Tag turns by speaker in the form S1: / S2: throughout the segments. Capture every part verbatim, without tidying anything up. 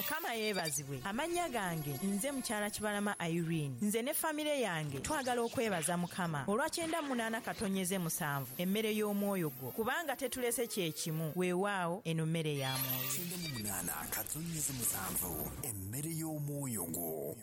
S1: Mukama yeebazibwe. Amannya gange nze mukyala Kibalama Irene. Nze ne famire yange twagala okwebaza Mukama olwa kyenda munaana katonyeze musanvu emmere y'omwoyo gwo, kubanga tetulese kye kimu. Weewaawo eno mmere ya mwoyo.
S2: Kyenda mu munaana katonyeze musanvu emmere y'omwoyo gwo.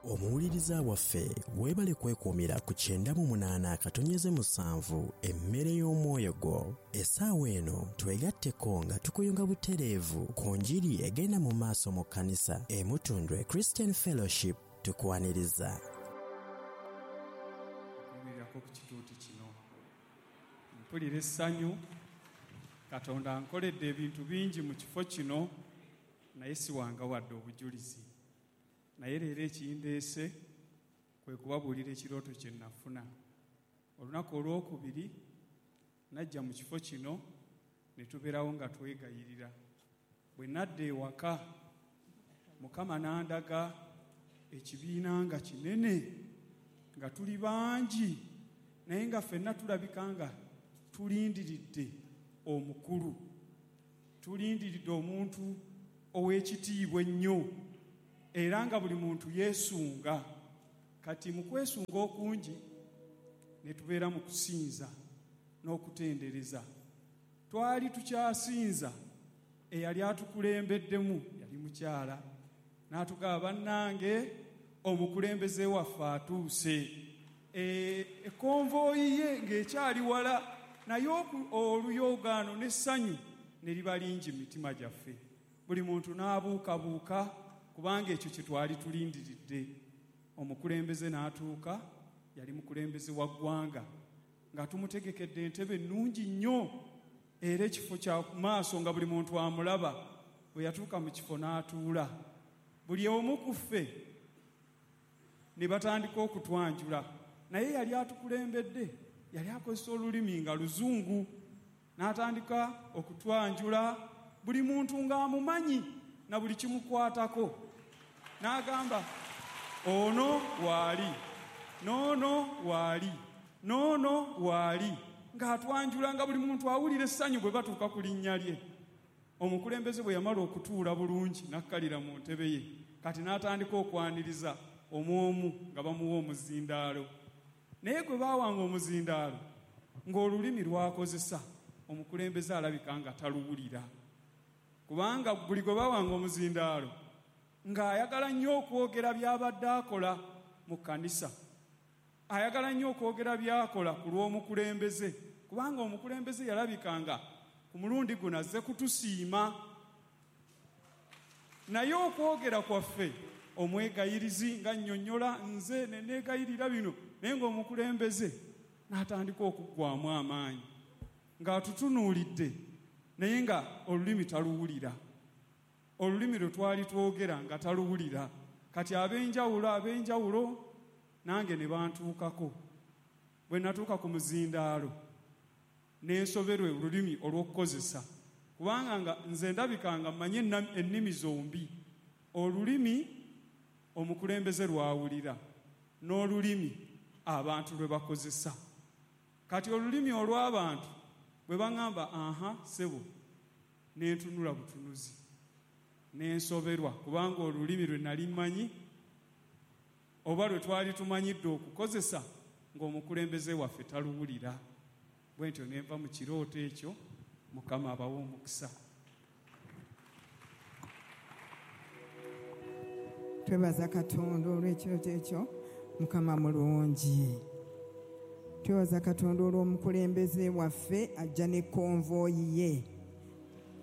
S2: Omuwuliriza waffe weebale kwekuumira ku kyenda mu munaana katonyeze musanvu emmere y'omwoyo gwo. Essaawa eno twegatteko nga tukuyunga butereevu ku njiri egenda mu maaso mu kkanisa e Mutundwe Christian Fellowship. Tukwaniriza.
S3: Okuyimirako ku kituuti kino mpulira essanyu. Katonda ankoledde ebintu bingi mu kifo kino, naye siwanga wadde obujulizi. Naye leero ekindeese kwe kubabuulira ekirooto kye nafuna. Olunaku olwokubiri najja mu kifo kino ne tubeerawo nga twegayirira. Bwe nadda ewaka, Mukama n'andaga ekibiina nga kinene, nga tuli bangi, naye nga ffenna tulabika nga tulindiridde omukulu, tulindiridde omuntu ow'ekitiibwa ennyo, era nga buli muntu yeesunga. Kati mu kwesunga okungi ne tubeera mu kusinza n'okutendereza. Twali tukyasinza, eyali atukulembeddemu yali mukyala, n'atugamba, bannange omukulembeze waffe atuuse. Ekonvoyi ye ng'ekyali wala, naye oluyogaano n'essanyu ne liba lingi mu mitima gyaffe. Buli muntu n'abuukabuuka kubanga ekyo kye twali tulindiridde. Omukulembeze n'atuuka, yali mukulembeze wa ggwanga, nga tumutegekedde entebe ennungi nnyo era ekifo kya maaso nga buli muntu amulaba. Bwe yatuuka mu kifo n'atuula, buli omu ku ffe ne batandika okutwanjula. Naye yali atukulembedde, yali akozesa olulimi nga luzungu, n'atandika okutwanjula buli muntu ng'amumanyi na buli kimukwatako. N'agamba, ono waali, n'ono waali, n'ono waali, ng'atwanjula nga buli muntu awulira essanyu bwe batuuka ku linnya lye. Omukulembeze bwe yamala okutuula bulungi n'akkalira mu ntebe ye, kati n'atandika okwaniriza omu nga bamuwa omuzindaalo. Naye gwe baawanga omuzindaalo ng'olulimi lwakozesa omukulembeze alabika nga taluwulira, kubanga buli gwe baawanga omuzindaalo ng'ayagala nnyo okwogera by'abadde akola mu kkanisa, ayagala nnyo okwogera by'akola ku lw'omukulembeze, kubanga omukulembeze yalabikanga ku mulundi guno azze kutusiima. Naye okwogera kwaffe omwegayirizi nga nnyonnyola nze ne neegayirira bino, naye ng'omukulembeze n'atandika okuggwamu amaanyi ng'atutunuulidde, naye nga olulimi taluwulira. Olulimi lwe twali twogera nga taluwulira. Kati ab'enjawulo ab'enjawulo nange ne bantuukako. Bwe natuuka ku muzindaalo n'ensoberwa olulimi olw'okukozesa, kubanga nga nze ndabika nga mmanyi ennimi zombi, olulimi omukulembeze lwawulira n'olulimi abantu lwe bakozesa. Kati olulimi olw'abantu bwe baŋŋamba aha ssebo, nentunula butunuzi n'ensoberwa, kubanga olulimi lwe nali mmanyi oba lwe twali tumanyidde okukozesa ng'omukulembeze waffe taluwulira. Bwe ntyo ne nva mu kirooto ekyo. Mukama abawe omukisa.
S4: Twebaza Katonda olw'ekirooto ekyo. Mukama mulungi. Twebaza Katonda olw'omukulembeze waffe ajja ne konvoyi ye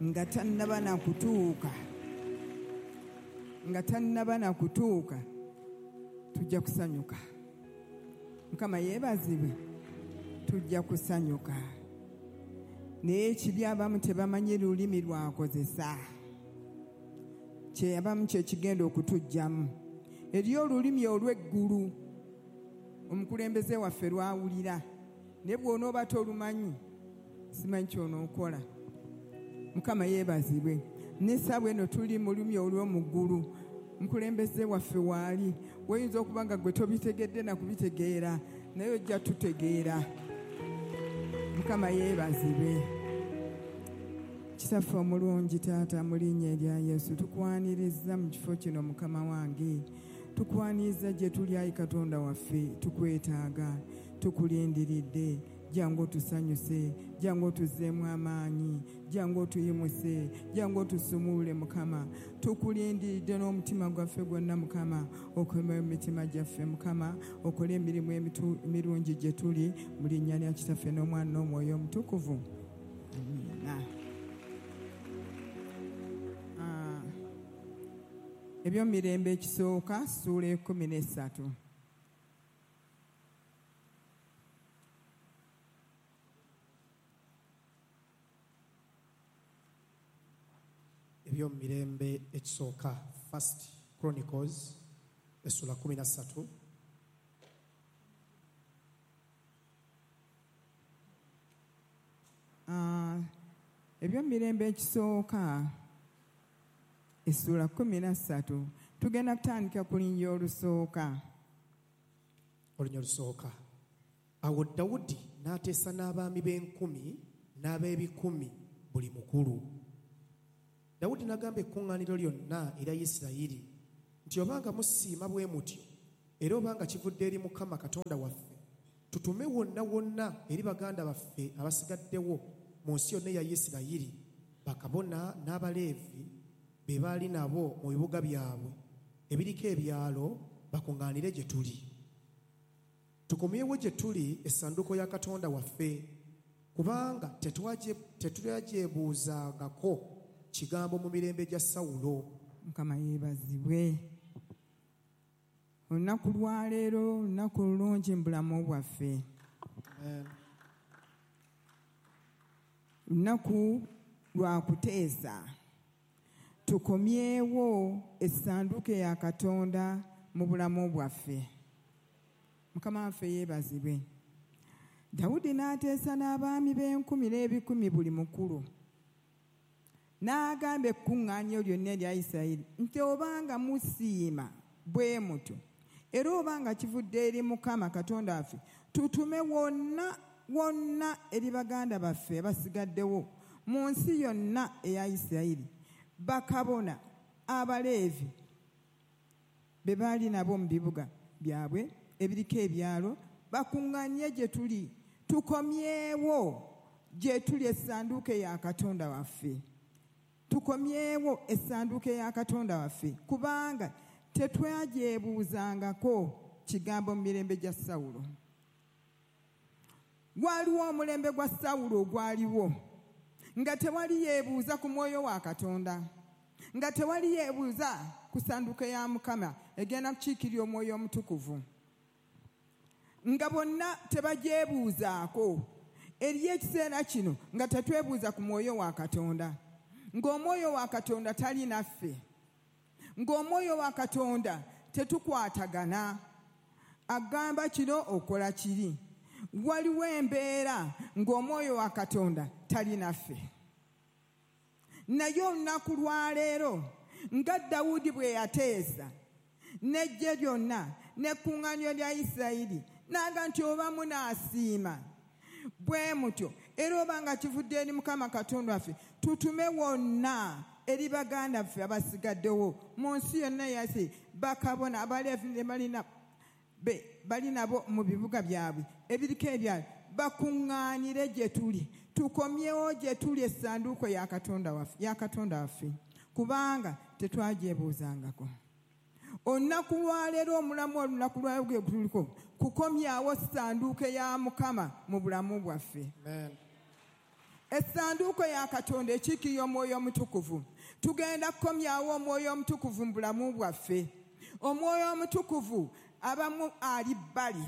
S4: nga tannaba na kutuuka, nga tannaba na kutuuka tujja kusanyuka. Mukama yeebazibwe, tujja kusanyuka. Naye ekibi abamu tebamanyi lulimi lwakozesa, kyeyabamu kyekigenda okutuggyamu. Eriyo olulimi olw'eggulu omukulembeze waffe lwawulira, naye bw'onooba tolumanyi simanyi ky'onookola. Mukama yeebazibwe. N'essaawa eno tuli mu lulimi olw'omu ggulu, mukulembeze waffe waali. Weyinza okuba nga gwe tobitegedde na kubitegeera, naye ojja tutegeera. Mukama yeebazibwe. Kitaffe omulungi taata mu linnya erya Yesu tukwaniriza mu kifo kino Mukama wange. Tukwaniriza gye tuli ayi Katonda waffe, tukwetaaga, tukulindiridde. Jangu otusanyuse, jangu otuzzeemu amaanyi, jangu otuyimuse, jangu otusumulule Mukama. Tukulindiridde n'omutima gwaffe gwonna Mukama, okome mu mitima gyaffe Mukama, okole emirimu emirungi gye tuli mu linnya lya Kitaffe n'Omwana n'Omwoyo Omutukuvu. Amiina. Ebyomirembe ekisooka ssuula ekkumi n'essatu.
S5: Ebyomirembe ekisooka, First Chronicles essula kumi na ssatu.
S4: Ah, ebyomirembe ekisooka essula kumi na ssatu tugenda kutandika ku linnya olusooka.
S5: Olunya olusooka. Awo Dawudi n'ateesa n'abaami b'enkumi n'ab'ebikumi buli mukulu. Dawudi n'agamba ekkuŋŋaaniro lyonna erya Isirayiri nti obanga musiima bwe mutyo era obanga kivudde eri Mukama Katonda waffe, tutume wonna wonna eri baganda baffe abasigaddewo mu nsi yonna eya Isirayiri, bakabona n'Abaleevi be baali nabo mu bibuga byabwe ebiriko ebyalo bakuŋŋaanire gye tuli. Tukomyewo gye tuli essanduuko ya Katonda waffe, kubanga tetwagyebuuzangako kigambo mu mirembe gya Sawulo.
S4: Mukama yeebazibwe. Olunaku lwaleero lunaku lulungi mu bulamu bwaffe. Lunaku lwa kuteesa. Tukomyewo essanduuko ya Katonda mu bulamu bwaffe. Mukama waffe yeebazibwe. Dawudi n'ateesa n'abaami b'enkumi n'ebikumi buli mukulu. N'agamba ekkuŋŋaaniro lyonna erya Isirayiri nti obanga musiima bwe mutyo era obanga kivudde eri Mukama Katonda waffe, tutume wonna wonna eri baganda baffe abasigaddewo mu nsi yonna eya Isirayiri, bakabona Abaleevi be baali nabo mu bibuga byabwe ebiriko ebyalo bakuŋŋaanye gye tuli, tukomyewo gye tuli essanduuko ya Katonda waffe. Tukomyewo essanduuko ya Katonda waffe, kubanga tetwagyebuuzangako kigambo mu mirembe gya Sawulo. Waliwo omulembe gwa Sawulo ogwaliwo nga tewali yeebuuza ku mwoyo wa Katonda, nga tewali yeebuuza ku ssanduuko ya Mukama egenda kukiikirira Omwoyo Omutukuvu, nga bonna tebagyebuuzaako. Eriyo ekiseera kino nga tetwebuuza ku mwoyo wa Katonda, ng'omwoyo wa Katonda tali naffe, ng'omwoyo wa Katonda tetukwatagana, agamba kino okola kiri. Waliwo embeera ng'omwoyo wa Katonda tali naffe. Naye olunaku lwaleero nga Dawudi bwe yateesa n'eggye lyonna n'ekkuŋŋaaniro lya Isirayiri, n'agamba nti oba munaasiima bwe mutyo era oba nga kivudde eri Mukama Katonda waffe, tutume wonna eri baganda baffe abasigaddewo mu nsi yonna eya Isirayiri, bakabona Abaleevi ne balina bali nabo mu bibuga byabwe ebiriko ebyalo bakuŋŋaanire gye tuli, tukomyewo gye tuli essanduuko ya Katonda waffe, ya Katonda waffe, kubanga tetwagyebuuzangako. Olunaku lwaleero omulamu olunaku lwaleero gwe tuliko kukomyawo ssanduuko ya Mukama mu bulamu bwaffe. Essanduuko ya Katonda ekiikirira Omwoyo Omutukuvu. Tugenda kukomyawo Omwoyo Omutukuvu mu bulamu bwaffe. Omwoyo Omutukuvu abamu ali bbali.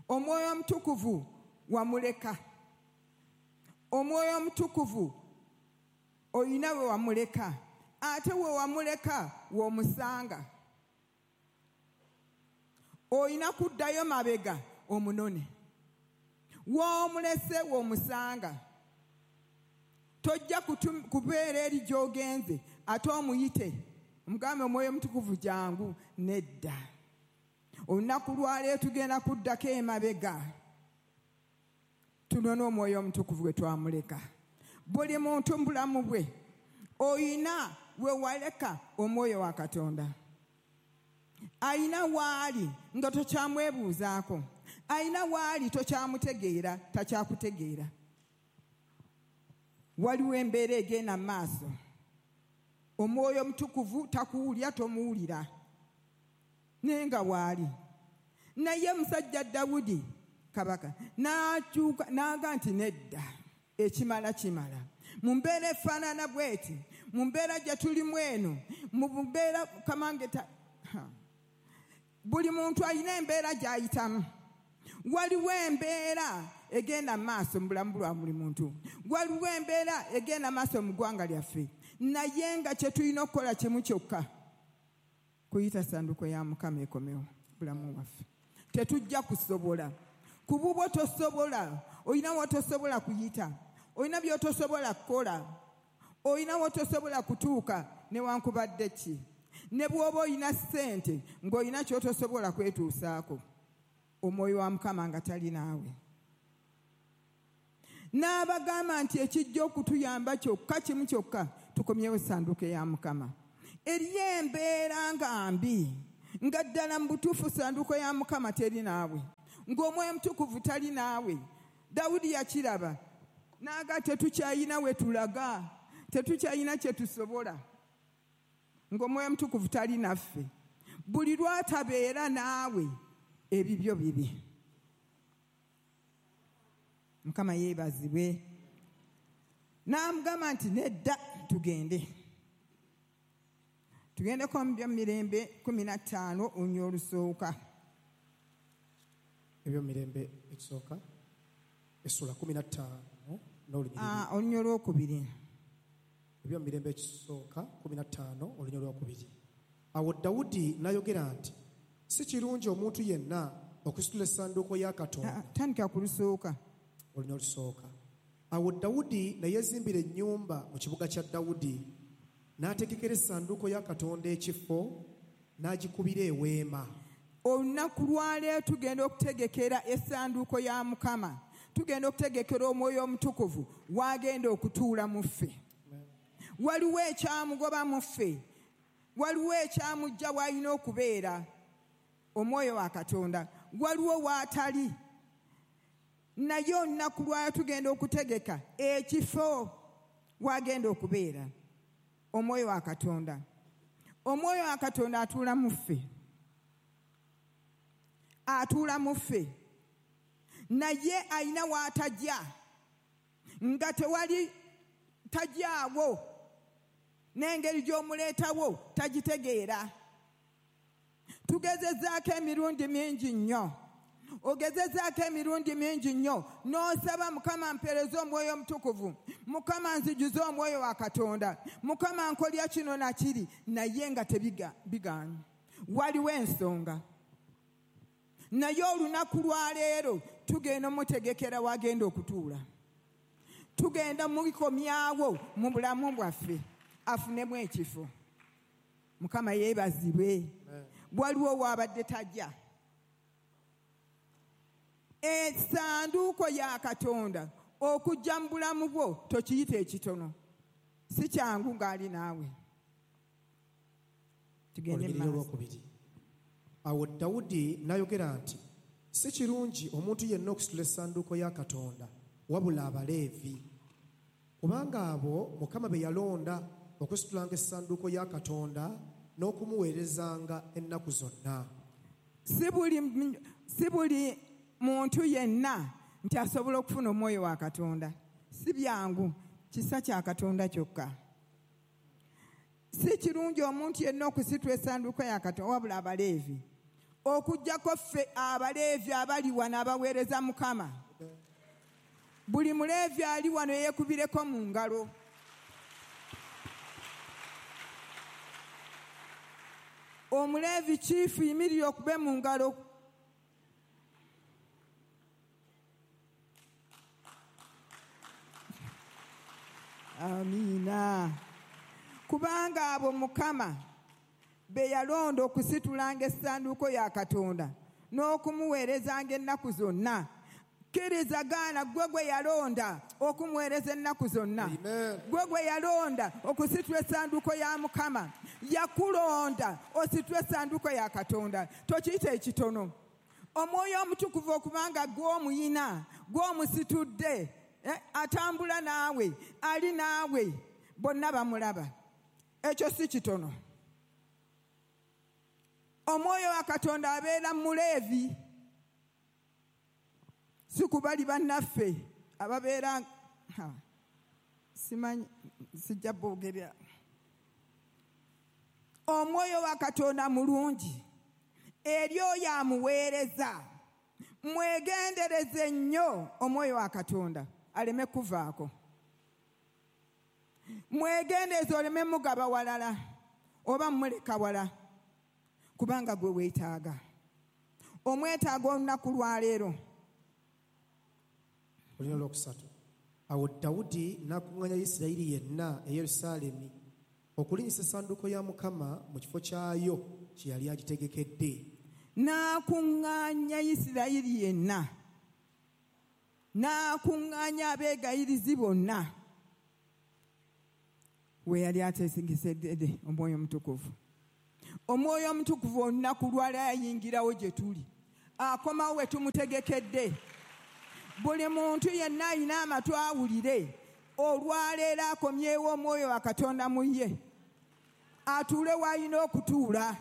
S4: Omwoyo Omutukuvu wamuleka. Omwoyo Omutukuvu oyina we wamuleka, ate we wamuleka w'omusanga. Oyina kuddayo mabega omunone, w'omulese w'omusanga. Tojja kubeera eri gy'ogenze ate omuyite omugambe Omwoyo Omutukuvu jangu. Nedda. Olunaku lwaleero tugenda kuddako emabega Tunone Omwoyo Omutukuvu gwe twamuleka. Buli muntu mu bulamu bwe oyina we waleka Omwoyo wa Katonda. Ayina waali nga tokyamwebuuzaako, ayina waali tokyamutegeera, takyakutegeera. Waliwo embeera egenda mu maaso, Omwoyo Omutukuvu takuwulira, tomuwulira, naye nga waali. Naye musajja Dawudi kabaka n'akyuka n'aga nti nedda, ekimala kimala. Mu mbeera efaanana bw'eti, mu mbeera gye tulimu eno, mu mbeera kamange ta buli muntu alina embeera gy'ayitamu. Waliwo embeera egenda mu maaso mu bulamu bwa buli muntu, waliwo embeera egenda mu maaso mu ggwanga lyaffe, naye nga kye tulina okukola kimu kyokka, kuyita ssanduuko ya Mukama ekomewo bulamu bwaffe. Tetujja kusobola. Ku bubwo tosobola, olina w'otosobola kuyita, olina by'otosobola kukola, olina w'otosobola kutuuka newankubadde ki. Ne bw'oba olina ssente ng'olina ky'otosobola kwetuusaako, Omwoyo wa Mukama nga tali naawe. N'abagamba nti ekijja okutuyamba kyokka kimu kyokka, tukomyewo essanduuko ya Mukama. Eriyo embeera nga mbi, nga ddala mu butuufu ssanduuko ya Mukama teri naawe, ng'Omwoyo Omutukuvu tali naawe. Dawudi yakiraba n'aga tetukyayina we tulaga, tetukyayina kye tusobola, ng'Omwoyo Omutukuvu tali naffe. Buli lw'atabeera naawe ebibyo bibi. Mukama yeebazibwe. N'amugamba nti nedda, tugende. Tugendeko mu Byomumirembe kkumi na ttaano oluny olusooka.
S5: Ebyomumirembe ekisooka essula kkumi na ttaano n'olunyiriri.
S4: Ah, oluny olwokubiri.
S5: Ebyomumirembe ekisooka kkumi na ttaano oluny olwokubiri. Awo Dawudi n'ayogera nti si kirungi omuntu yenna okusitula essanduuko ya Katonda.
S4: Tandika ku lusooka.
S5: Oluny olusooka. Awo Dawudi ne yeezimbira ennyumba mu kibuga kya Dawudi, n'ategekera essanduuko ya Katonda ekifo, n'agikubira eweema.
S4: Olunaku lwaleero tugenda okutegekera essanduuko ya Mukama, tugenda okutegekera Omwoyo Omutukuvu w'agenda okutuula mu ffe. Waliwo ekyamugoba mu ffe, waliwo ekyamujja w'alina okubeera, Omwoyo wa Katonda, waliwo w'atali. Naye olunaku lwaleero tugenda okutegeka ekifo w'agenda okubeera, Omwoyo wa Katonda. Omwoyo wa Katonda atuula mu ffe, atuula mu ffe, naye alina w'atajja, nga tewali tajjaawo, n'engeri gy'omuleetawo tagitegeera. Tugezezaako emirundi mingi nnyo, ogezezaako emirundi mingi nnyo, n'osaba Mukama mpeereze Omwoyo Omutukuvu, Mukama nzijuze Omwoyo wa Katonda, Mukama nkolya kino na kiri, naye nga tebigaanye. Waliwo ensonga. Naye olunaku lwaleero tugenda mutegekera wagenda okutuula, tugenda mulikomyawo mu bulamu bwaffe afunemu ekifo. Mukama yeebazibwe. Waliwo w'abadde tajja. Essanduuko ya Katonda okujja mu bulamu bwo tokiyita ekitono, si kyangu ng'ali naawe. Tugende mu maaso.
S5: Awo Dawudi n'ayogera nti si kirungi omuntu yenna okusitula essanduuko ya Katonda wabula Abaleevi, kubanga abo Mukama be yalonda okusitulanga essanduuko ya Katonda n'okumuweerezanga ennaku zonna.
S4: Si buli si buli muntu yenna nti asobola okufuna Omwoyo wa Katonda. Si byangu, kisa kya Katonda kyokka. Si kirungi omuntu yenna okusitula essanduuko ya Katonda wabula Abaleevi, okuggyako ffe Abaleevi abali wano abaweereza Mukama. Buli Muleevi ali wano yeekubireko mu ngalo. Omuleevi chiifu yimirira okube mu ngalo. Amiina. Kubanga abo Mukama be yalonda okusitulanga essanduuko ya Katonda n'okumuweerezanga ennaku zonna. Kkiriza gaana gwe gwe yalonda okumuweereza ennaku zonna.
S5: Amen.
S4: Gwe gwe yalonda okusitula essanduuko ya Mukama. Yakulonda ositule essanduuko ya Katonda. Tokiyita ekitono. Omwoyo Omutukuvu okubanga gw'omuyina, gw'omusitudde, eh, atambula naawe, ali naawe, bonna bamulaba. Ekyo si kitono. Omwoyo wa Katonda abeera mu Leevi. Si ku bali bannaffe ababeera ha, simanyi, sijja boogerera. Omwoyo wa Katonda mulungi eri oyo amuweereza. Mwegendereze nnyo omwoyo wa Katonda aleme kuvaako. Mwegendereze oleme mugaba walala oba muleka wala, kubanga gwe weetaaga. Omwetaaga olunaku lwaleero.
S5: Olina olwokusatu. Awo Dawudi n'akuŋŋaanya Isirayiri yenna e Yerusaalemi okulinnyisa essanduuko ya Mukama mu kifo kyayo kye yali agitegekedde.
S4: N'akuŋŋaanya Isirayiri yenna, n'akuŋŋaanya abeegayirizi bonna we yali ateesegesedde Omwoyo Omutukuvu. Omwoyo Omutukuvu olunaku lwaleero ayingirawo gye tuli, akomawo we tumutegekedde. Buli muntu yenna alina amatu awulire, olwaleero akomyewo Omwoyo wa Katonda mu ye, atuule w'alina okutuula.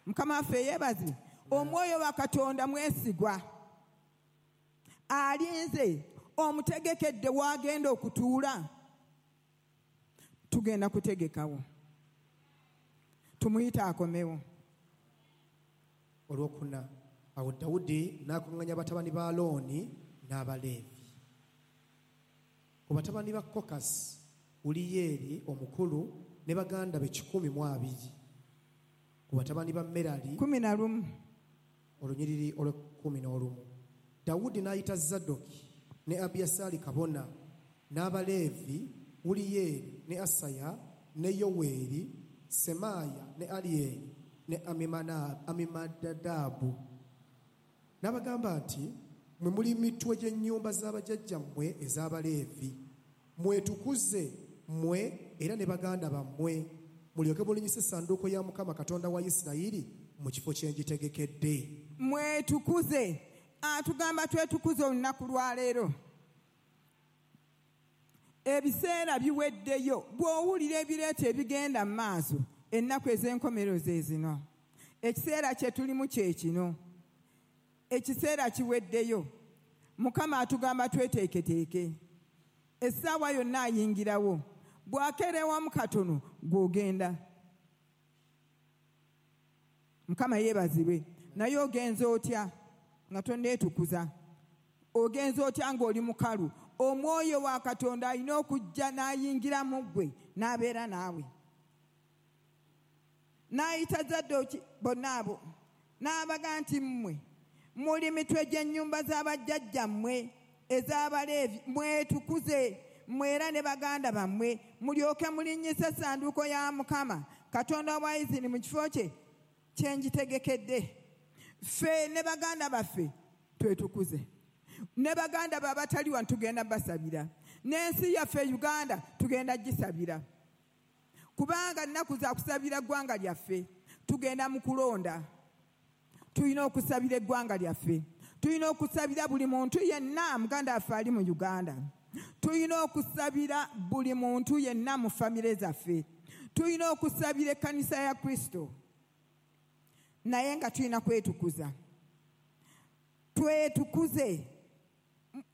S4: Mukama waffe yeebazibwe. Omwoyo wa Katonda mwesigwa, alinze omutegekedde w'agenda okutuula. Tugenda kutegekawo, tumuyite akomewo.
S5: Olwokuna. Awo Dawudi n'akuŋŋaanya batabani ba Alooni n'Abaleevi. Ku batabani ba Kokasi, Uliyeeri omukulu ne baganda be kikumi mu abiri. Ku batabani ba Merali
S4: kumi na lumu.
S5: Olunyiriri olw'ekkumi n'olumu. Dawudi n'ayita Zadoki ne Abiyasaali kabona n'Abaleevi Uliyeeri ne Asaya ne Yoweeri, Semaaya ne Aliyeeri ne Amimana- Amimadadabu. N'abagamba nti, mmwe muli mitwe gy'ennyumba z'abajjajjammwe ez'Abaleevi. Mwetukuze mmwe era ne baganda bammwe, mulyoke mulinnyise essanduuko ya Mukama Katonda wa Isirayiri mu kifo kye ngitegekedde.
S4: Mwetukuze. Atugamba twetukuze olunaku lwaleero. Ebiseera biweddeyo. Bw'owulira ebireeta ebigenda mu maaso, ennaku ez'enkomerero ze zino. Ekiseera kye tulimu kye kino. Ekiseera kiweddeyo. Mukama atugamba tweteeketeeke. Essaawa yonna ayingirawo. Bw'akeerewamu katono gw'ogenda. Mukama yeebazibwe. Naye ogenze otya nga tonneetukuza? Ogenze otya ng'oli mukalu? Omwoyo wa Katonda alina okujja n'ayingira mu ggwe n'abeera naawe. N'ayita Zadooki bonna abo n'abaga nti mmwe muli mitwe gy'ennyumba z'abajjajjammwe ez'Abaleevi, mwetukuze mmwe era ne baganda bammwe, mulyoke mulinnyise essanduuko ya Mukama Katonda wa Isirayiri mu kifo kye kye ngitegekedde. Ffe ne baganda baffe twetukuze, ne baganda be abatali wano tugenda basabira, n'ensi yaffe Uganda tugenda gisabira, kubanga nnaku za kusabira ggwanga lyaffe. Tugenda mu kulonda, tulina okusabira eggwanga lyaffe, tulina okusabira buli muntu yenna muganda waffe ali mu Uganda, tulina okusabira buli muntu yenna mu famire zaffe, tulina okusabira ekkanisa ya Kristo. Naye nga tulina kwetukuza. Twetukuze.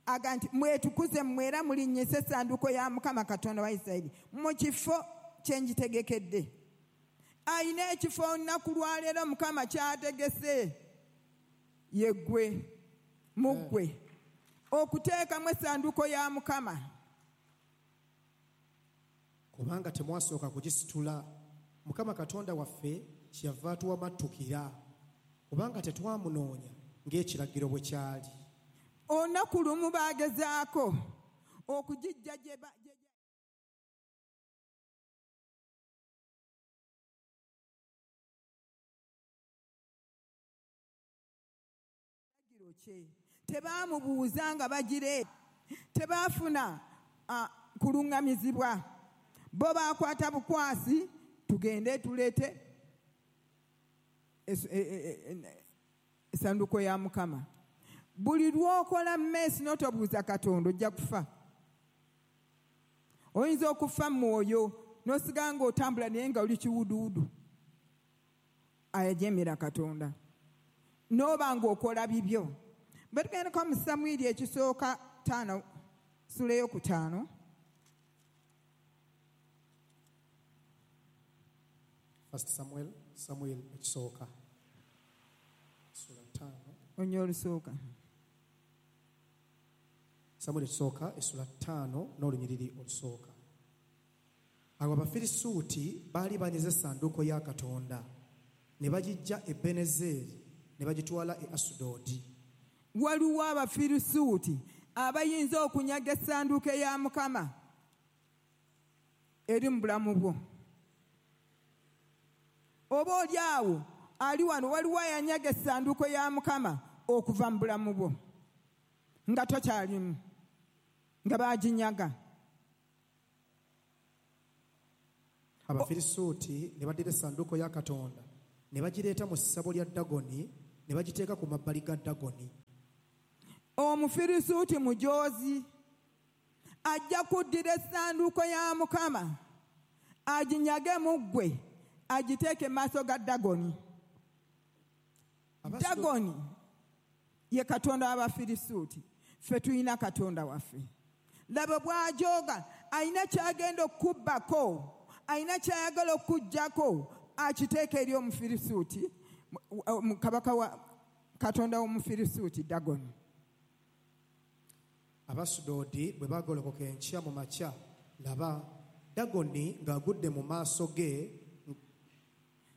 S4: Aga nti mwetukuze mmwe era mulinnyise essanduuko ya Mukama Katonda wa Isirayiri mu kifo kye ngitegekedde. Alina ekifo olunaku lwaleero Mukama ky'ategese, ye ggwe, mu ggwe, okuteekamu essanduuko ya Mukama.
S5: Kubanga temwasooka kugisitula, Mukama Katonda waffe kyeyava atuwamattukira, kubanga tetwamunoonya ng'ekiragiro bwe kyali.
S4: Olunaku lumu baagezaako okugijja gye ba- gye- kye. Tebaamubuuza nga bagire, tebaafuna kuluŋŋamizibwa. Bo baakwata bukwasi, tugende tuleete essanduuko ya Mukama. Buli lw'okola mmeesi n'otobuuza Katonda ojja kufa. Oyinza okufa mu mwoyo n'osigala ng'otambula naye nga oli kiwuduwudu. Ayajemera Katonda. N'oba ng'okola bibyo. Bwe tugendako mu Samwiri ekisooka ttaano, ssuula ey'okutaano.
S5: First Samuel, Samuel ekisooka. Ssuula ttaano.
S4: Onye olusooka.
S5: Samuel ekisooka essula ttaano n'olunyiriri olusooka. Awo Abafirisuuti baali banyize essanduuko ya Katonda ne bagiggya e Ebenezeeri ne bagitwala e Asudodi.
S4: Waliwo Abafirisuuti abayinza okunyaga essanduuko ya Mukama eri mu bulamu bwo. Oba oli awo ali wano, waliwo ayanyaga essanduuko ya Mukama okuva mu bulamu bwo nga tokyalimu, nga baginyaga.
S5: Abafirisuuti ne baddira essanduuko ya Katonda ne bagireeta mu ssabo lya Dagoni ne bagiteeka ku mabbali ga Dagoni.
S4: Omufirisuuti mujoozi ajja kuddira essanduuko ya Mukama aginyage mu ggwe agiteeke mu maaso ga Dagoni. Dagoni ye Katonda w'Abafirisuuti, ffe tulina Katonda waffe. Laba bw'ajooga, alina ky'agenda okubbako, alina ky'ayagala okuggyako, akiteeka eri Omufirisuuti, kabaka wa Katonda w'Omufirisuuti Dagoni.
S5: Abasudodi bwe baagolokoka enkya mu makya, laba Dagoni ng'agudde mu maaso ge,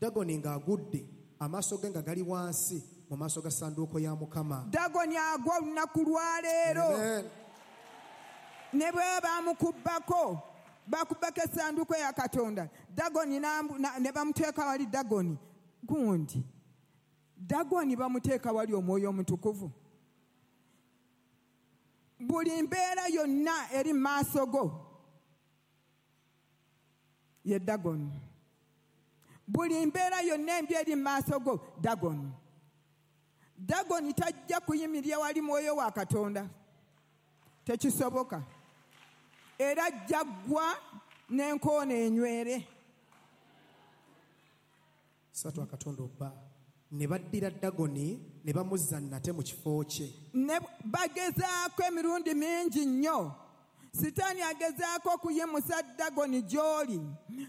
S5: Dagoni ng'agudde amaaso ge nga gali wansi mu maaso ga ssanduuko ya Mukama.
S4: Dagoni agwa olunaku lwaleero. Ne bwe bamukubbako, bakubbako essanduuko ya Katonda, Dagoni ne bamuteeka wali Dagoni gundi. Dagoni bamuteeka wali Omwoyo Omutukuvu. Buli mbeera yonna eri mu maaso go ye Dagoni. Buli mbeera yonna embi eri mu maaso go Dagoni. Dagoni tajja kuyimirira wali mwoyo wa Katonda, tekisoboka. Era ajja ggwa n'enkoona enywere.
S5: Ssatu akatondo bba ne baddira Dagoni ne bamuzza nate mu kifo kye.
S4: Ne bagezaako emirundi mingi nnyo. Sitaani agezaako okuyimusa Dagoni gy'oli.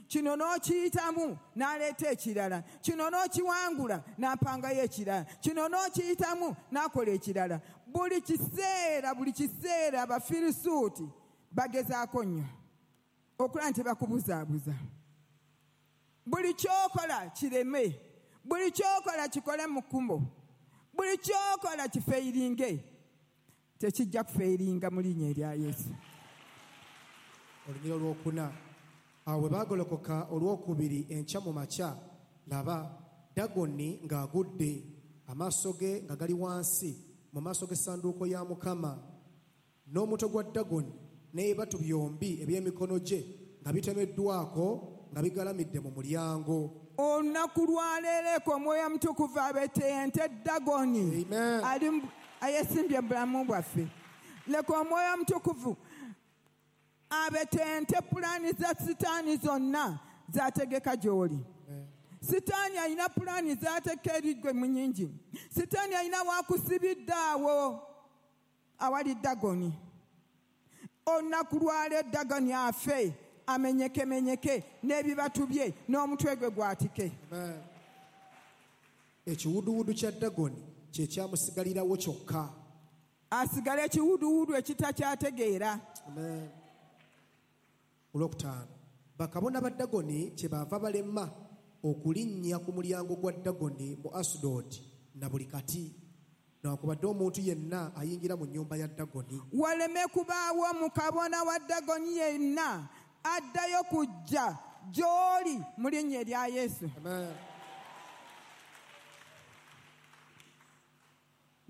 S4: Kino n'okiyitamu n'aleeta ekirala. Kino n'okiwangula n'ampangayo ekirala. Kino n'okiyitamu n'akola ekirala. Buli kiseera, buli kiseera Abafirisuuti bagezaako nnyo okulaba nti bakubuzaabuza. Buli ky'okola kireme. Buli ky'okola kikole mu kkubo. Buli ky'okola kifeyiringe. Tekijja kufeyiringa mu linnya erya Yesu.
S5: Olunyiriri olwokuna. Awo bwe baagolokoka olwokubiri enkya mu makya, laba Dagoni ng'agudde, amaaso ge nga gali wansi mu maaso g'essanduuko ya Mukama, n'omutwe gwa Dagoni n'ebibatu byombi eby'emikono gye nga bitemeddwako nga bigalamidde mu mulyango.
S4: Olunaku lwaleero eko Omwoyo Omutukuvu abetente Dagoni ayesimbye mu bulamu bwaffe. Leka Omwoyo Omutukuvu abetente pulaani za Sitaani zonna z'ategeka gy'oli. Sitaani alina pulaani z'ateeka eri ggwe mu nnyingi. Sitaani alina wakusibidde awo awali Dagoni. Olunaku lwaleero Dagoni afe, amenyekemenyeke n'ebibatu bye n'omutwe gwe gwatike.
S5: Ekiwuduwudu kya Dagoni kye kyamusigalirawo kyokka.
S4: Asigale ekiwuduwudu ekitakyategeera.
S5: Olwokutaano, bakabona ba Dagoni kyebaava balema okulinnya ku mulyango gwa Dagoni mu Asudodi na buli kati, newankubadde omuntu yenna ayingira mu nnyumba ya Dagoni.
S4: Waleme kubaawo mukabona wa Dagoni yenna addayo kujja gy'oli mu linnya erya Yesu.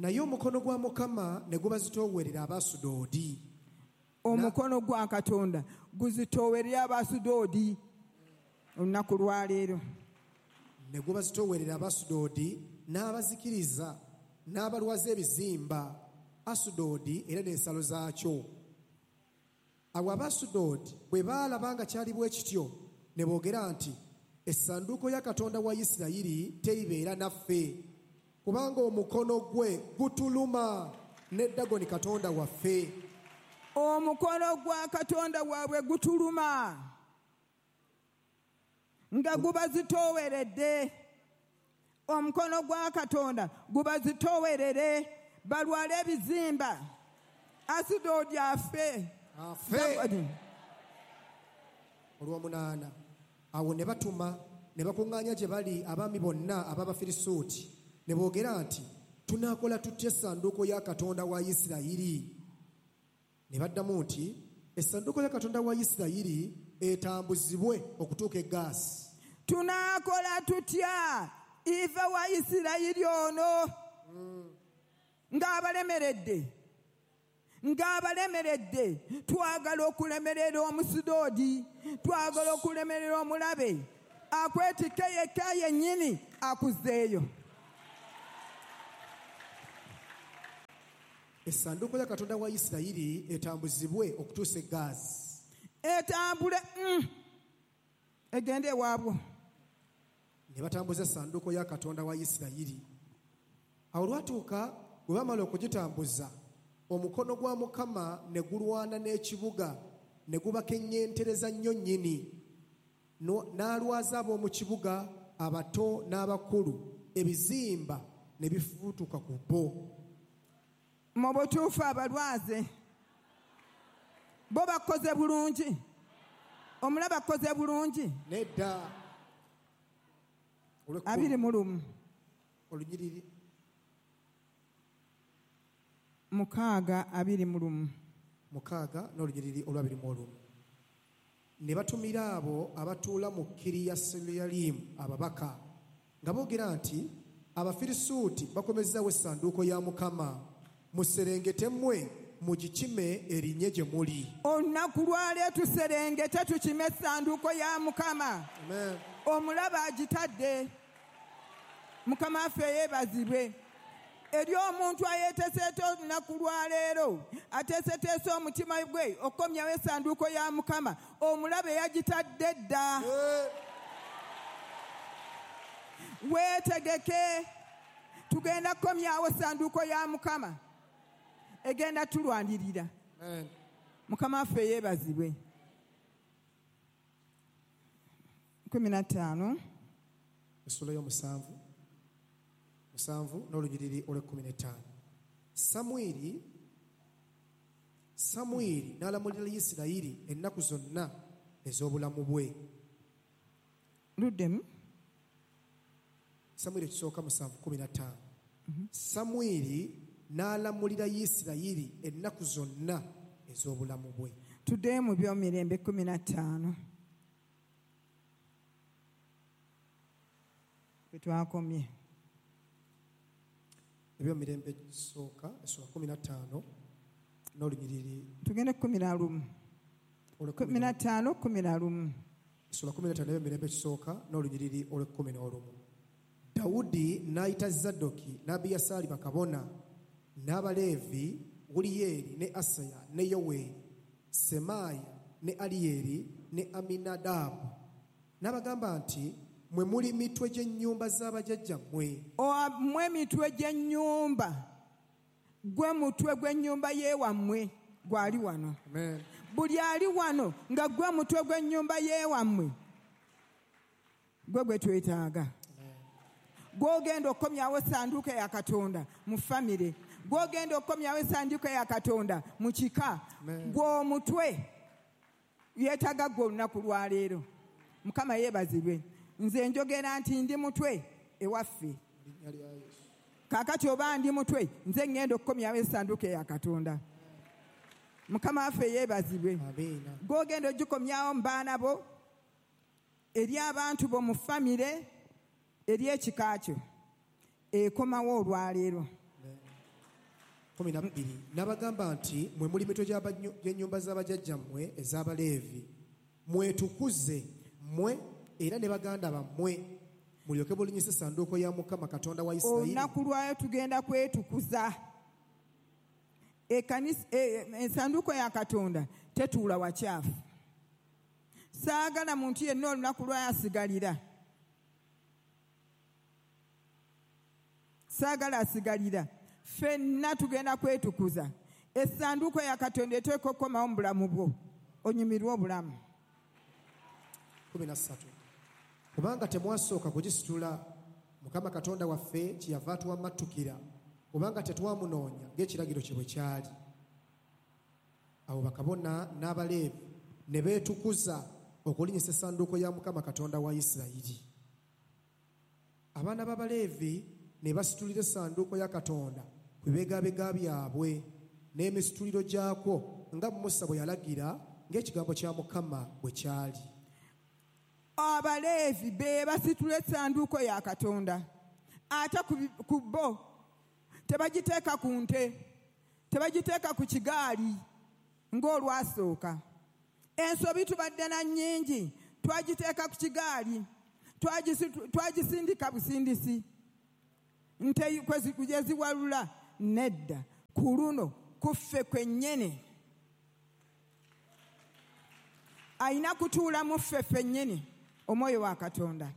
S5: Naye omukono gwa Mukama ne gubazitoowerera Abasudoodi.
S4: Omukono gwa Katonda guzitoowerera Abasudoodi olunaku lwaleero.
S5: Ne gubazitoowerera Abasudoodi n'abazikiriza n'abalwaza ebizimba Asudoodi era n'ensalo zaakyo. Awo Abasudoodi bwe baalaba nga kyali bwe kityo ne boogera nti essanduuko ya Katonda wa Isirayiri teribeera naffe, kubanga omukono gwe gutuluma ne Dagoni Katonda waffe.
S4: Omukono gwa Katonda waabwe gutuluma nga gubazitooweredde. Omukono gwa Katonda gubazitoowerere balwale ebizimba. Asudodi afe.
S5: Afe. Olw'omunaana awo ne batuma ne bakuŋŋaanya gye bali abaami bonna ab'Abafirisuuti ne boogera nti tunaakola tutya essanduuko ya Katonda wa Isirayiri? Ne baddamu nti essanduuko ya Katonda wa Isirayiri etambuzibwe okutuuka e Gaasi.
S4: Tunaakola tutya ife wa Isirayiri ono ng'abalemeredde ng'abalemeredde twagala okulemerera Omusudoodi, twagala okulemerera omulabe akwetike yekka yennyini akuzzeeyo.
S5: Essanduuko ya Katonda wa Isirayiri etambuzibwe okutuusa e Gaasi.
S4: Etambule mm. egende ewaabwo.
S5: Ne batambuza essanduuko ya Katonda wa Isirayiri. Awo olwatuuka bwe bamala okugitambuza, omukono gwa Mukama ne gulwana n'ekibuga ne gubakeŋŋentereza nnyo nnyini. N'alwaza ab'omu kibuga abato n'abakulu, ebizimba ne bifuutuka ku bo.
S4: Mu butuufu abalwaze bo bakoze bulungi, omulaba akoze bulungi.
S5: Nedda.
S4: Abiri mu lumu
S5: olunyiriri
S4: mukaaga abiri mu lumu
S5: mukaaga n'olunyiriri olwabiri mu olumu. Ne batumira abo abatuula mu Kiriyasuyalimu ababaka nga boogera nti Abafirisuuti bakomezaawo essanduuko ya Mukama, muserengete mmwe mugikime erinye gye muli.
S4: Olunaku lwaleero tuserengete tukime essanduuko ya Mukama.
S5: Amen.
S4: Omulaba agitadde. Mukama waffe yeebazibwe. Eri omuntu ayeeteeseete olunaku lwaleero ateeseteese omutima gwe okukomyawo essanduuko ya Mukama, omulabe yagitadde dda. Weetegeke, tugenda kukomyawo essanduuko ya Mukama, egenda tulwanirira. Mukama waffe yeebazibwe. Kumi na ttaano
S5: essula y'omusanvu musanvu n'olunyiriri olw'ekkumi n'ettaano. Samwiri Samwiri n'alamulira Isirayiri ennaku zonna ez'obulamu bwe.
S4: Luddemu.
S5: Samwiri ekisooka musanvu kkumi na ttaano. Samwiri n'alamulira Isirayiri ennaku zonna ez'obulamu bwe.
S4: Tuddeyo mu by'omirembe kkumi na ttaano. Bwe twakomye.
S5: Ebyomirembe ekisooka essula kkumi na ttaano n'olunyiriri.
S4: Tugende kkumi na lumu. Kkumi na ttaano kkumi na lumu.
S5: Essula kkumi na ttaano ebyomirembe ekisooka n'olunyiriri olw'ekkumi n'olumu. Dawudi n'ayita Zaddoki n'Abiyasaali bakabona n'Abaleevi Uliyeri ne Asaya ne Yoweeri, Semaaya ne Aliyeri ne Aminadaabu n'abagamba nti mwe muli mitwe gy'ennyumba z'abajjajjammwe.
S4: Mmwe mitwe gy'ennyumba, gwe mutwe gw'ennyumba y'ewammwe gwali wano. Buli ali wano nga gwe mutwe gw'ennyumba y'ewammwe gwe gwe twetaaga. Gw'ogenda okukomyawo essanduuko ya Katonda mu famire, gw'ogenda okukomyawo essanduuko ya Katonda mu kika, gw'omutwe yeetaaga gwe olunaku lwaleero. Mukama yeebazibwe. Nze njogera nti ndi mutwe ewaffe. Kaakati oba ndi mutwe, nze ŋŋenda okukomyawo essanduuko ya Katonda. Mukama waffe yeebazibwe. Gw'ogenda ogikomyawo mu baana bo, eri abantu bo mu famire, eri ekika kyo, ekomawo olwaleero.
S5: Kumi na bbiri n'abagamba nti mwe muli mitwe gy'ennyumba z'abajjajjammwe ez'Abaleevi, mwetukuze mmwe era ne baganda bammwe, mulyoke mulinyise essanduuko ya Mukama Katonda wa Isirayiri.
S4: Olunaku lwayo tugenda kwetukuza. Ekanisa, ensanduuko ya Katonda tetuula wakyafu. Saagala muntu yenna olunaku lwayo asigalira. Saagala asigalira. Ffenna tugenda kwetukuza. Essanduuko ya Katonda eteekwa okukomawo mu bulamu bwo, onyumirwe obulamu.
S5: Kumi na ssatu kubanga temwasooka kugisitula, Mukama Katonda waffe kyeyava atuwammattukira, kubanga tetwamunoonya ng'ekiragiro kye bwe kyali. Awo bakabona n'Abaleevi ne beetukuza okulinyisa essanduuko ya Mukama Katonda wa Isirayiri. Abaana b'Abaleevi ne basitulira essanduuko ya Katonda ku bibegabega byabwe n'emisituliro gyakwo, nga Musa bwe yalagira, ng'ekigambo kya Mukama bwe kyali.
S4: Abaleevi be basitula essanduuko ya Katonda, ate ku bo tebagiteeka ku nte, tebagiteeka ku kigaali ng'olwasooka. Ensobi tubadde na nnyingi, twagiteeka ku kigaali, twagisindika busindisi, nte gye ziwalula. Nedda, ku luno kuffe kwennyini ayina kutuula mu ffe ffennyini omwoyo wa Katonda.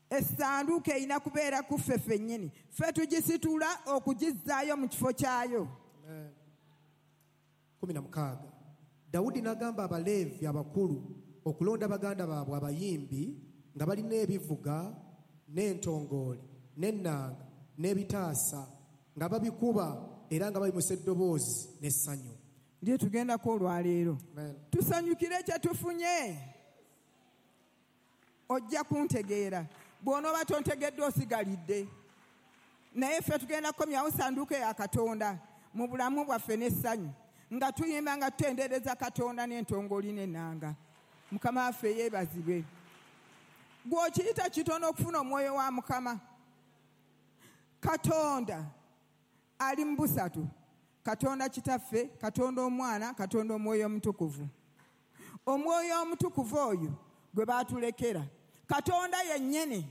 S4: Essanduuko erina kubeera ku ffe ffennyini, ffe tugisitula okugizzaayo mu kifo kyayo.
S5: Kumi na mukaaga Dawudi n'agamba Abaleevi abakulu okulonda baganda baabwe abayimbi nga balina ebivuga n'entongooli n'ennanga n'ebitaasa, nga babikuba era nga bayimusa eddoboozi n'essanyu.
S4: Ndiye tugendako olwaleero, tusanyukire kye tufunye. Ojja kuntegeera, bw'onooba tontegedde osigalidde. Naye ffe tugenda kukomyawo ssanduuko ya Katonda mu bulamu bwaffe n'essanyu, nga tuyimba nga tutendereza Katonda n'entongooli n'ennanga. Mukama waffe yeebazibwe. Gw'okiyita kitono okufuna omwoyo wa Mukama. Katonda ali mu busatu: Katonda Kitaffe, Katonda Omwana, Katonda Omwoyo Omutukuvu. Omwoyo Omutukuvu oyo gwe baatulekera Katonda yennyini.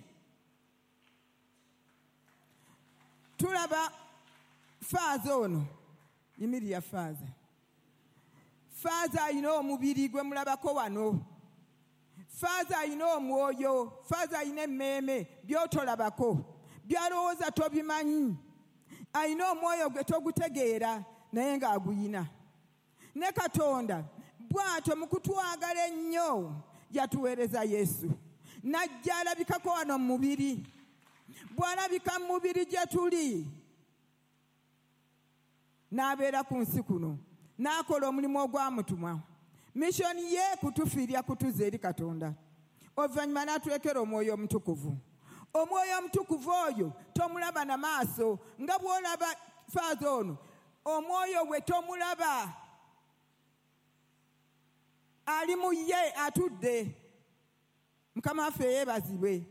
S4: Tulaba faaza ono, yimirira faaza. Faaza alina omubiri gwe mulabako wano. Faaza alina omwoyo, faaza alina emmeeme, by'otolabako, by'alowooza tobimanyi. Alina omwoyo gwe togutegeera naye ng'aguyina. Ne Katonda bw'atyo mu kutwagala ennyo yatuweereza Yesu, n'ajja alabikako wano mu mubiri. Bw'alabika mu mubiri gye tuli, n'abeera ku nsi kuno, n'akola omulimu ogwamutuma. Mishoni ye kutufiirya kutuza eri Katonda. Oluvannyuma n'atulekera Omwoyo Omutukuvu. Omwoyo Omutukuvu oyo tomulaba na maaso nga bw'olaba faaza ono, omwoyo gwe tomulaba, ali mu ye atudde. Mukama waffe yeebazibwe.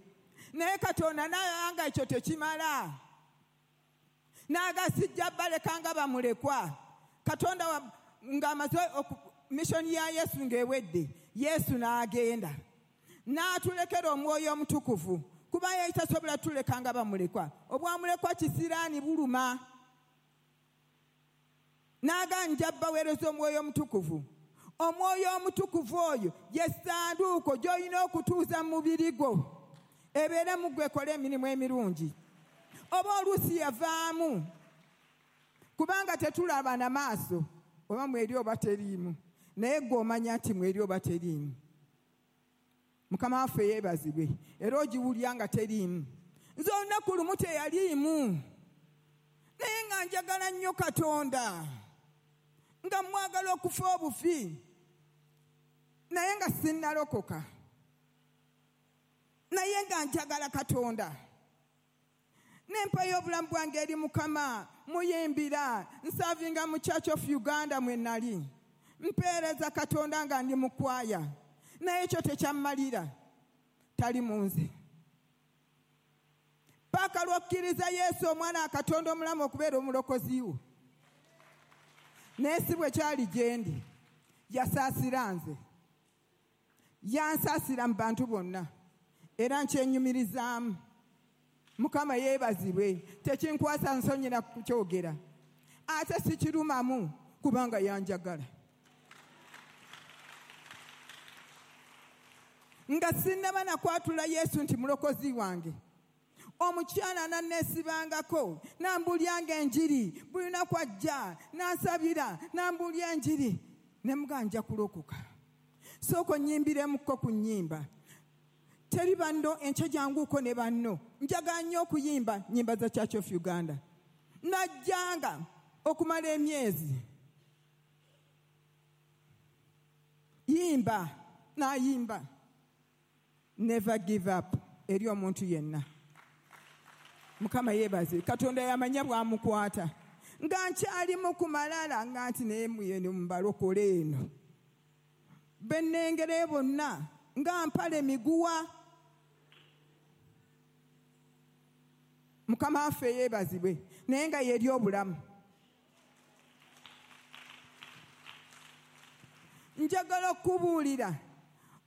S4: Naye Katonda n'anga ekyo tekimala, n'agasijja baleka nga bamulekwa. Katonda ng'amaze mishoni ya Yesu ng'ewedde, Yesu n'agenda n'atulekera Omwoyo Omutukuvu, kuba ye tasobola tuleka nga bamulekwa. Obwamulekwa kisiraani buluma. N'aganja baweereza Omwoyo Omutukuvu. Omwoyo Omutukuvu oyo ye ssanduuko gy'olina okutuuza mu mubiri gwo, ebeere mu ggwe ekole emirimu emirungi. Oba oluusi yavaamu, kubanga tetulaba na maaso oba mweri oba teriimu, naye ggwe omanya nti mweri oba teriimu. Mukama waffe yeebazibwe. Era ogiwulya nga teriimu. Nze olunaku lumu teyaliimu, naye nga njagala nnyo Katonda, nga mwagala okufa obufi, naye nga sinnalokoka, naye nga njagala Katonda. Nempayo obulamu bwange eri Mukama, muyimbira, nsavinga mu Church of Uganda mwe nali, mpeereza Katonda nga ndi mu kwaya, naye ekyo tekyammalira, tali mu nze. Paka lw'okkiriza Yesu omwana wa Katonda omulamu okubeera omulokozi wo. Naye si bwe kyali gye ndi. Yasaasira nze. Yansaasira mu bantu bonna. Era nkyenyumirizaamu. Mukama yeebazibwe. Tekinkwasa nsonyi na kukyogera. Ate sikirumamu kubanga yanjagala. Nga sinnaba nakwatula Yesu nti mulokozi wange. Omukyala nanneesibangako, nambulyanga enjiri, buli lunaku ajja, nansabira, nambulya enjiri. Ne mugamba nja kulokoka. Sooka onnyimbiremukko ku nnyimba. Teri banno, enkya janguuko ne banno. Njagala nnyo okuyimba nnyimba za Church of Uganda. Najjanga okumala emyezi. Yimba, nayimba. Never give up eri omuntu yenna. Mukama yeebazibwe. Katonda yamanya bw'amukwata. Nga nkyalimu ku malala nga nti naye muyene mubalokole eno. Be nnengera bonna nga mpala emiguwa. Mukama waffe yeebazibwe. Naye nga yeri obulamu. Njagala okubuulira.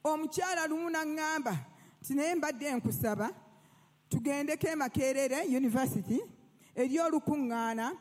S4: Omukyala lumu n'aŋŋamba nti naye mbadde nkusaba tugendeko e Makerere University eri olukuŋŋaana